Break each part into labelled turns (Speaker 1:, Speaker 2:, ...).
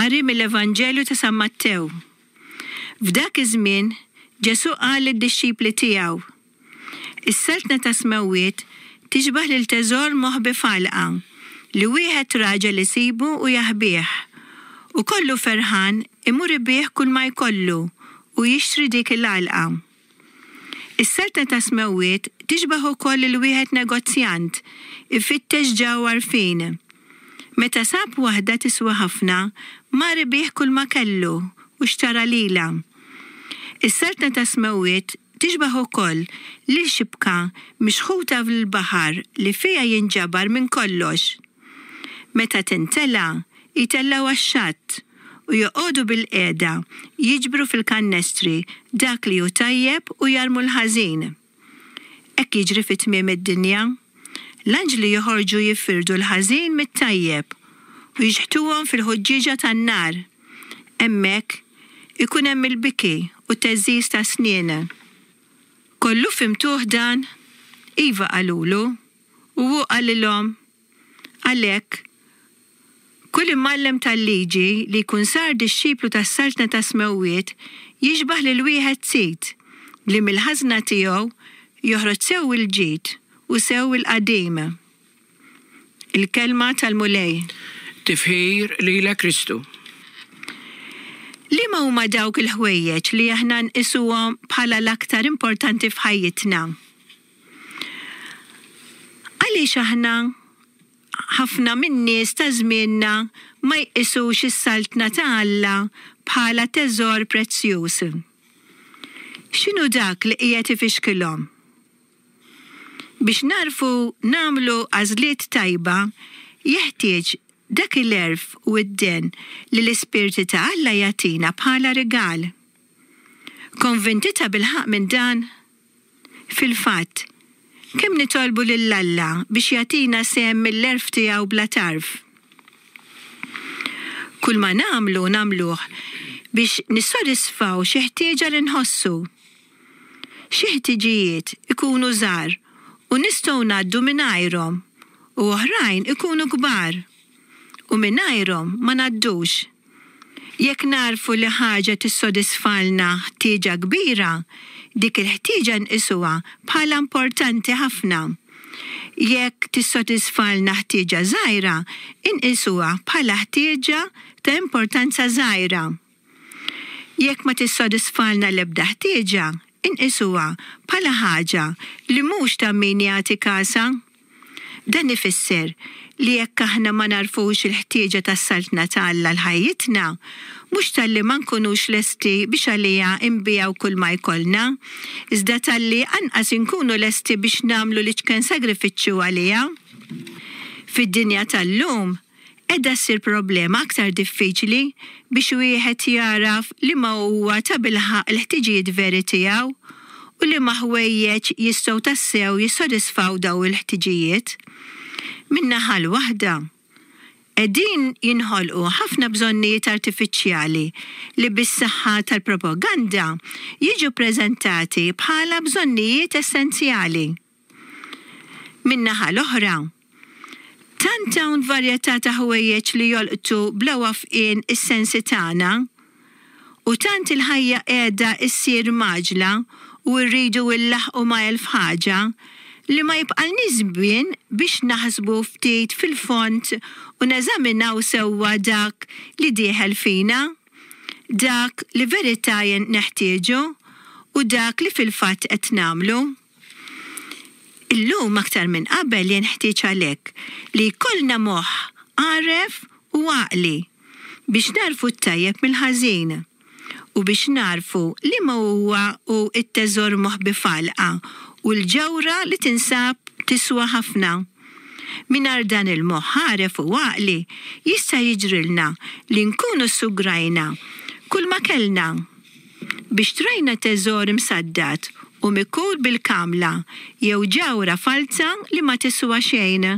Speaker 1: Qari mill-Evanġelju ta' San Mattew. F'dak iż-żmien, Ġesù qal lid-dixxipli tiegħu, Is-Saltna tas-Smewwiet tixbah lil teżor moħbi f'għalqa, li wieħed raġel isibu u jaħbih. U kollu ferħan imur ibigħ kulma jkollu u jixtri dik il-għalqa. Is-Saltna tas-Smewwiet tixbah ukoll lil wieħed negozjant ifittex ġawhar fin. Meta sab waħda tiswa ħafna, mar ibigħ kulma kellu u xtara lilha. Is-Saltna tas-Smewwiet tixbah ukoll lil xibka mixħuta fl-baħar li fiha jinġabar minn kollox. Meta tintela', jtellgħu għax-xatt u joqogħdu bilqiegħda jiġbru fil-kannestri dak li hu tajjeb u jarmu l-ħażin. Hekk jiġri fi tmiem id-dinja. L-anġli joħorġu jifirdu l-ħażin mit-tajjeb u jixħtuhom fil-ħuġġieġa tan-nar. Hemmhekk ikun hemm il-biki u t-theżżiż tas-snien. Kollu fhimtuh dan? Iva qalulu. U hu qalilhom, Għalhekk, kull imgħallem tal-liġi li jkun sar dixxiplu tas-Saltna tas-Smewwiet jixbah lil wieħed sid li mill-ħażna tiegħu joħroġ sew il-ġid u sew il-qadim. Il-Kelma tal-Mulej.
Speaker 2: Tifħir lilek Kristu.
Speaker 1: Liema huma dawk il-ħwejjeġ li aħna nqisuhom bħala l-aktar importanti f'ħajjitna? Għaliex aħna ħafna min-nies ta' żmienna ma jqisux is-Saltna ta' Alla bħala teżor prezzjuż? X'inhu dak li qiegħed ifixkilhom? Biex nagħrfu nagħmlu għażliet tajba jeħtieġ dak il-għerf u d-dehen li l-Ispirti ta' Alla jagħtina bħala rigal. Konvinti tabilħaqq minn dan? Fil-fatt, kemm nitolbu lil Alla biex jagħtina sehem mill-għerf tiegħu bla tarf? Kulma nagħmlu nagħmluh biex nissodisfaw xi ħtieġa li nħossu. Xi ħtiġijiet ikunu żgħar u nistgħu ngħaddu mingħajrhom u oħrajn ikunu kbar u mingħajrhom ma ngħaddux. Jekk nagħrfu li ħaġa tissodisfalna ħtieġa kbira, dik il-ħtieġa nqisuha bħala importanti ħafna. Jekk tissodisfalna ħtieġa żgħira, inqisuha bħala ħtieġa ta' importanza żgħira. Jekk ma tissodisfalna l-ebda ħtieġa, inqisuha bħala ħaġa li mhux ta' min jagħti kasha. Dan ifisser li jekk aħna ma nagħrfux il-ħtieġa tas-Saltna ta' Alla għal ħajjitna, mhux talli ma nkunux lesti biex għaliha nbigħu kulma jkollna, iżda talli anqas inkunu lesti biex nagħmlu l-iċken sagrifiċċju għaliha. Fid-dinja tal-lum, Qiegħda ssir problema aktar diffiċli biex wieħed jagħraf liema huwa tabilħaqq il-ħtiġijiet veri tiegħu u liema ħwejjeġ jistgħu tassew jissodisfaw dawn il-ħtiġijiet. Min-naħa l-waħda, qegħdin jinħolqu ħafna bżonnijiet artifiċjali li bis-saħħa tal-propaganda jiġu ppreżentati bħala bżonnijiet essenzjali. Min-naħa l-oħra, tant hawn varjetà ta' ħwejjeġ li jolqtu bla wafqien is-sensi tagħna, u tant il-ħajja qiegħda ssir mgħaġġla u rridu llaħħqu ma' elf ħaġa, li ma jibqalniex żmien biex naħsbu ftit fil-fond u neżaminaw sewwa dak li dieħel fina, dak li verità neħtieġu u dak li fil-fatt qed nagħmlu. Illum aktar minn qabel jenħtieġ għalhekk li jkollna moħħ għaref u għaqli biex nagħrfu t-tajjeb mill-ħażin u biex nagħrfu liema huwa hu t-teżor moħbi f'għalqa u l-ġawhra li tinsab tiswa ħafna. Mingħajr dan il-moħħ għaref u għaqli jista' jiġrilna li nkunu ssugrajna kulma kellna. Biex trajna teżor imsaddad u mikul bil-kamla jew ġawhra falza li ma tiswa xejn.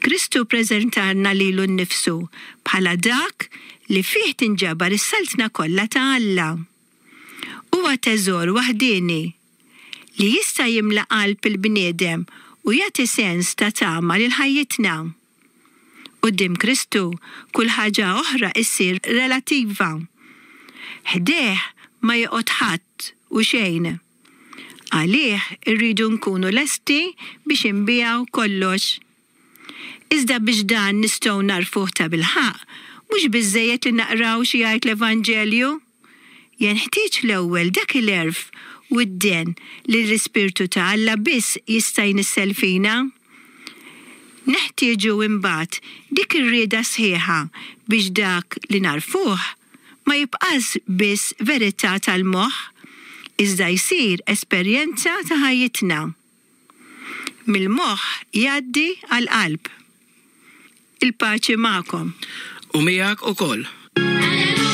Speaker 1: Kristu ppreżentalna lilu nnifsu bħala dak li fih tinġabar is-saltna kollha ta' Alla. Huwa teżor waħdieni li jista' jimla qalb il-bniedem u jagħti sens ta' tama lil ħajjitna. Quddiem Kristu, kull ħaġa oħra issir relattiva. Ħdejh ma joqgħod ħadd u xejn. Għalih irridu nkunu lesti biex inbiegħu kollox. Iżda biex dan nistgħu nagħrfuh tabilħaqq, mhux biżżejjed li naqraw xi jgħid l-Evanġelju. Jenħtieġ l-ewwel dak il-għerf u d-dehen li l-Ispirtu ta' Alla biss jista' jnissel fina. Neħtieġu imbagħad dik ir-rieda sħiħa biex dak li nagħrfuh ma jibqax biss verità tal-moħħ, iżda jsir esperjenza ta' ħajjitna. Mill-moħħ jgħaddi għall-qalb. Il-paċi magħkom.
Speaker 2: U miegħek ukoll.